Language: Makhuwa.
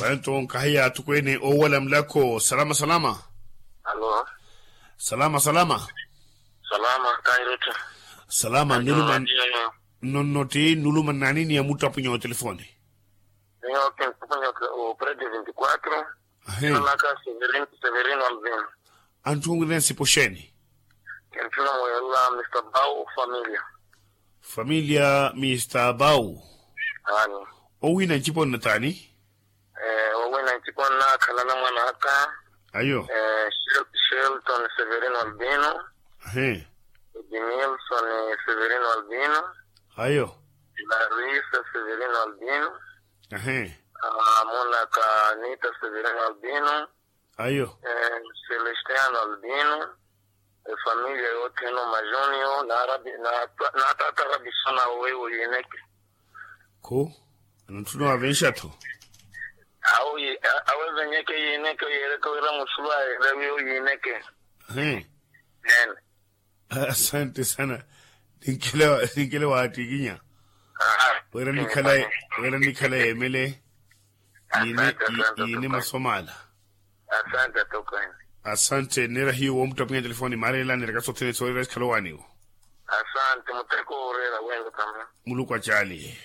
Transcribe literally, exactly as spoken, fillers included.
Anto nkahiya atukweene oowala mulako salama salama. Alo. Salama salama. Salama kahirutthu. Salama nuluma. Nonno ti nuluma nani ni ya muttapunyo wa telefoni? Niyo kinttapunyo wa predi vinti kwatro. Ahe. Naka severin severin albin. Anthunwire nsipo xeeni? Kintthuna mweerela mista bau familia. Familia mista bau. Aani. Owiina ncipo nnataani? Owiina ncipo nnaakhalana mwan'aka. Ayo. Shelton severino albino. Ahe. Edimilson severino albino. Ayo. Larisa severino albino. Ahe. Mwan'aka anita severino albino. Ayo. Celestiano albino. Efamilia yothene omajuniyo. Naatata rabisona owewe oyineke. Khu anatthuna wavenxa-tho. Awevenyeke yineke yeereke wira muxulu ayeerawiye oyineke. He. Asante sana. Ninkele waattikinya. Wira nikhala yeemele. Yiine masomaala. Asante. Nneera hiyo woomuttapinya telefoni maareela neeraka sothene soorera sikhala owaaniwo. Asante mutteko wooreera wenyu tama. Muluku acaali.